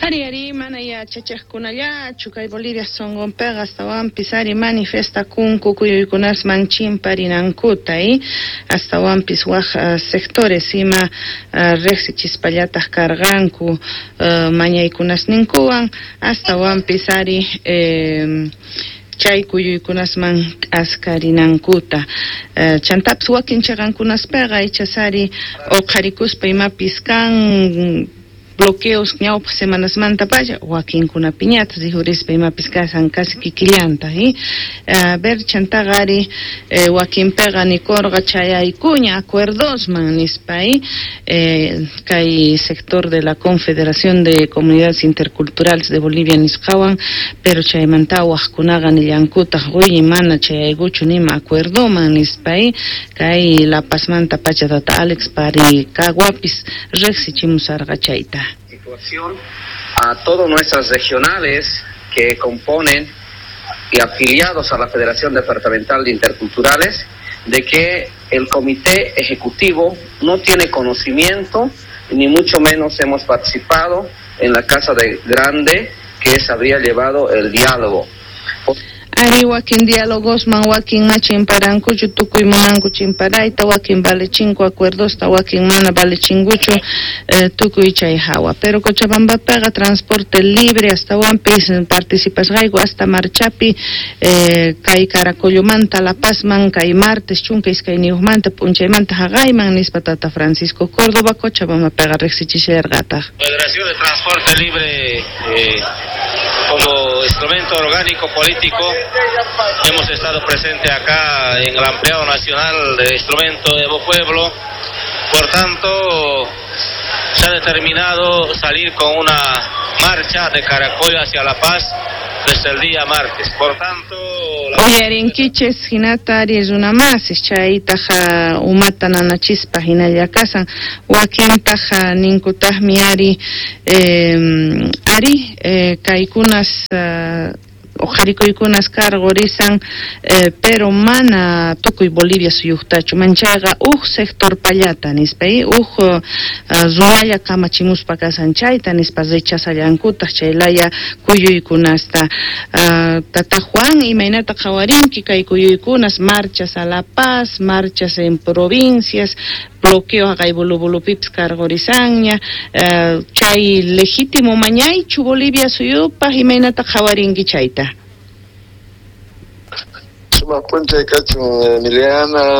Ari, mana yachachiqkunallachu kay Bolivia sunqunpiqa astawanpis ari manifestakunku kuyuykunasman chimparinankuta astawanpis waq sectores ima riqsichispallataq karqanku mañaykunasninkuwan astawanpis ari chay kuyuykunasman k'askarinankuta chantapis wakin chiqankunaspiqa ichas ari uqharikuspa imapis kan bloqueos ñawpaq semanasmantapacha wakinkunapiñataq rikhurispa imapis kasan casi kikillanta a ver chantaqa ari wakinpiqa nikurqa chayaykuña acuerdosman nispa kay sector de la Confederación de Comunidades Interculturales de Bolivia nisqawan, pero chaymanta waqkunaqa nillankutaq uy mana chayaykuchu nima acuerdoman nispa. Kay La Pazmanta pacha tata Alex Paricaguapis riqsichimusarqa chayta. Situación a todas nuestras regionales que componen y afiliados a la Federación Departamental de Interculturales, de que el Comité Ejecutivo no tiene conocimiento, ni mucho menos hemos participado en la Casa de Grande que se habría llevado el diálogo. Ari, wakin diálogosman wakin ma chimparankuchu, tukuy munanku chimparayta, wakin valechinko acuerdosta, wakin mana valechinkuchu tukuy chay hawa. Pero Cochabambapiqa transporte libre, astawanpis participasqayku hasta marchapi kay Caracollomanta La Pazman kay martes 12 manta p'unchaymanta haqayman nispa tata Francisco Córdoba Cochabambapiqa riqsichisharqataq. Federación de Transporte Libre como instrumento orgánico político hemos estado presente acá en el ampliado nacional de instrumento Evo Pueblo. Por tanto, se ha determinado salir con una marcha de Caracollo hacia La Paz desde el día martes. Por tanto, la Uyarinkichis hinata ari runa masis chaytaq umata nanachispa hinalla kasan, wakintaq ninkutaqmi ari ari kaykunas uqharikuykunas karqurisan pero mana tukuy Bolivia suyuqtachu, manchayqa uj sector pallata nispa, uj runalla kamachimuspa kasan chayta nispa rechazallankutaq chaylaya kuyuykunasta. Tata Juan, imaynata qhawarinki kay kuyuykunas, marchas a La Paz, marchas en provincias, bloqueo haqay Bulubulupipis karqurisanña, chay legítimo mañaychu Bolivia suyupaq? Imaynata qhawarinki chayta? Sumaq p'unchay kachun, Emiliana.